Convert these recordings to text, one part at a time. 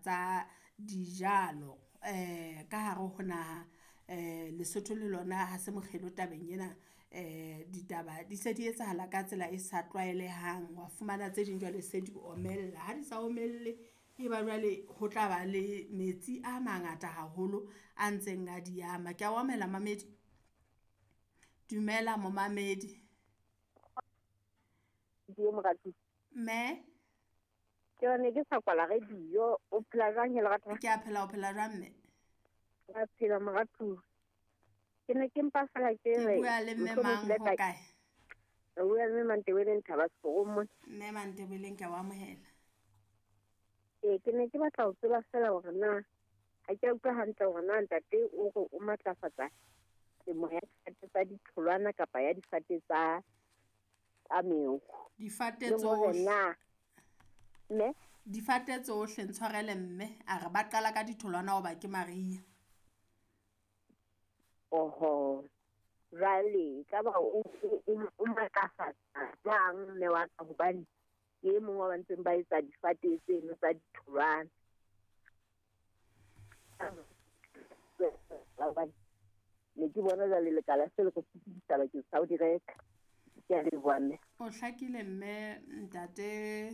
tsa dijalo ka hare ho naha. Lesotho le lona ha se mokgelo tabeng ena, ditaba di se di etsahala ka tsela e sa tlwaelehang, wa fumana tse ding jwale se di omella, ha di sa omelle e ba jwale ho tla ba le metsi a mangata haholo a ntseng a di ama. Kea o amohela momamedi. Dumela momamedi. Mme. Ke ne ke sa kwala radio, o phela jwang he lerato? Ke a phela, o phela jwang mme? Ka phela moratuwa. Ke ne ke mpa fela ke Ke re bua le mme mohlomong mang ke ile ho ka kae? O bua le mme Mantebeleng Thaba Seforong mona. Mme Mantebeleng ke a o amohela. Ee, ke ne ke batla ho tseba fela hore na ha ke a utlwa hantle hore na ntate o re o matlafatsa temo ya difate tsa ditholwana kapa ya difate tsa meokgo. Difate Le hore tsohle. na mme Difate tsohle ntshwarele mme a re ba qala ka ditholwana hoba ke mariha. Oho, jwale ekaba o matlafatsa jwang mme wa ka, hobane ke e mong wa ba ntseng ba etsa difate tseno tsa ditholwana. Hobane ne ke bona jwale lekala se le re sokodisa bakeng sa ho di reka. Ke a leboha mme. O hlakile mme ntate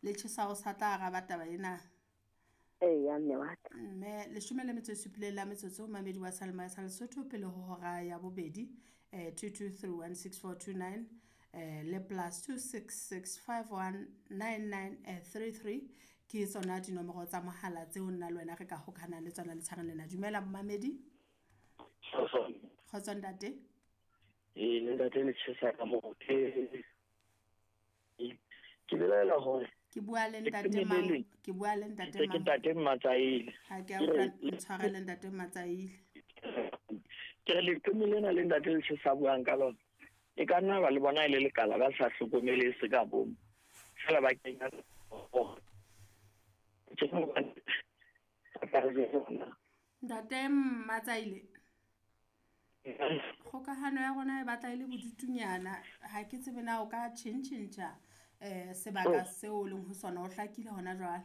Letjhesa o sa tla araba taba ena. Eya mme wa ka. Mme 17 la metsotso mamedi wa Seyalemoya sa Lesotho pele ho hora ya bobedi, 22316429 le plus 266519933 ke tsona dinomoro tsa mohala tseo nna le wena re ka hokahanang le tsona letshareng lena. Dumela momamedi. Kgotso ntate. Ee, le ntate Letjhesa ka moo. Ke belaela hore Ke bua le Ke ntate le mang? leng. Ke bua le ntate Ke mang? ntate Matsaile. Ha ke a utlwa, ntshwarele ntate Matsaile. Ke re leqeme lena le ntate Letjhesa buang ka lona, e ka nna ba le bona e le lekala ba sa hlokomele se ka bomo. Feela ba kenya ke hobane ba tla re jwetsa hore na. Ntate Matsaile. Kgokahano ya rona e batla e le bodutunyana, ha ke tsebe na o ka tjhentjhentjha sebaka seo o leng ho sona, o hlakile hona jwale.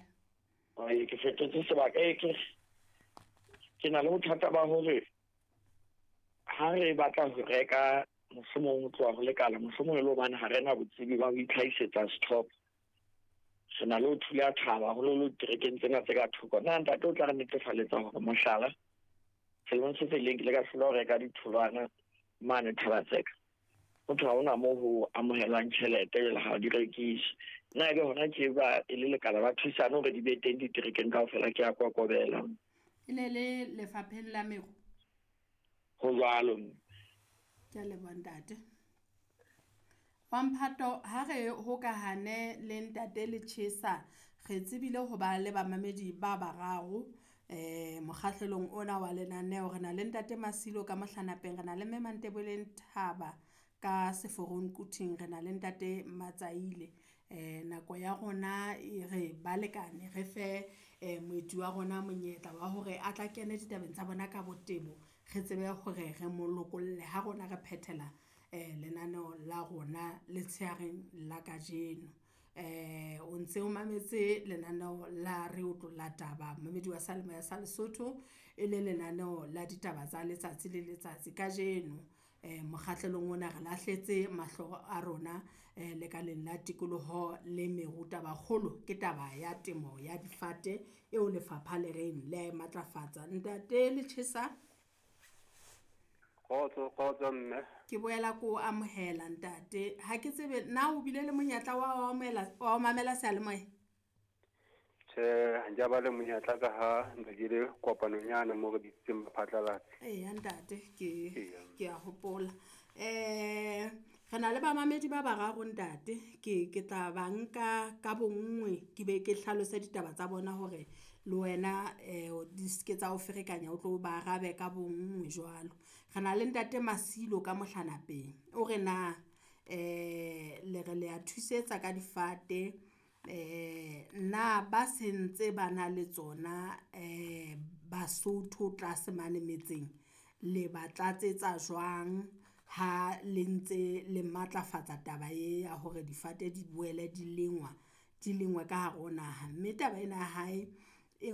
Ai, ke fetotse sebaka, ke na le bothata ba hore ha re batla ho reka mohlomong ho tloha ho lekala, mohlomong e le hobane ha re na botsebi ba ho itlhahisetsa stock. Re na le ho thula thaba haholoholo diterekeng tsena tse ka thoko. Na ntate o tla re netefaletsa hore mohlala selemong se fetileng ke ile ka hlola ho reka ditholwana mane Thabatseka. Ho thwe ha hona moo ho amohelwang tjhelete jwale ha di rekiswe. Nna ebe hona tje ba e le lekala ba thusane hore di be teng diterekeng kaofela, ke a kokobela. E ne le lefapheng la meru? Ho jwalo. Ke a leboha ntate. Wa Mphato, ha re hokahane le ntate Letjhesa, re tsebile ho ba le bamamedi ba bararo mokgahlelong ona wa lenaneo. Re na le ntate Masilo ka Mohlanapeng, re na le mme Mantebeleng Thaba ka Seforong Quthing, re na le ntate Matsaile. Nako ya rona e re balekane re fe moeti wa rona monyetla wa hore a tla kene ditabeng tsa bona ka botebo, re tsebe hore re mo lokolle ha rona re phethela lenaneo la rona letsheareng la kajeno. O ntse o mametse lenaneo la re otlolla taba, momamedi wa Seyalemoya sa Lesotho, e le lenaneo la ditaba tsa letsatsi le letsatsi. Kajeno mokgahlelong ona re lahletse mahlo a rona lekaleng la tikoloho le meru. Tabakgolo ke taba ya temo ya difate eo lefapha le reng le a e matlafatsa. Ntate Letjhesa. Kgotso, kgotso mme. Ke boela ko amohela ntate. Ha ke tsebe na o bile le monyetla wa ho amohela, wa ho mamela seyalemoya? Tjhe, ha nke ba le monyetla ka ha ntse ke le kopanong yane moo re bitsitseng baphatlalatsi. Eya ntate, ke Eya. ke a hopola. Re na le bamamedi ba bararo ntate, ke tla ba nka ka bonngwe ke be ke hlalose ditaba tsa bona hore le wena di ske tsa o ferekanya, o tlo ba arabe ka bonngwe jwalo. Re na le ntate Masilo ka Mohlanapeng, o re na le re le a thusetsa ka difate, na ba sentse ba na le tsona Basotho tlase mane metseng, le ba tlatsetsa jwang ha le ntse le matlafatsa taba e ya hore difate di boele di lengwa, di lengwe ka hare ho naha. Mme taba ena ya hae e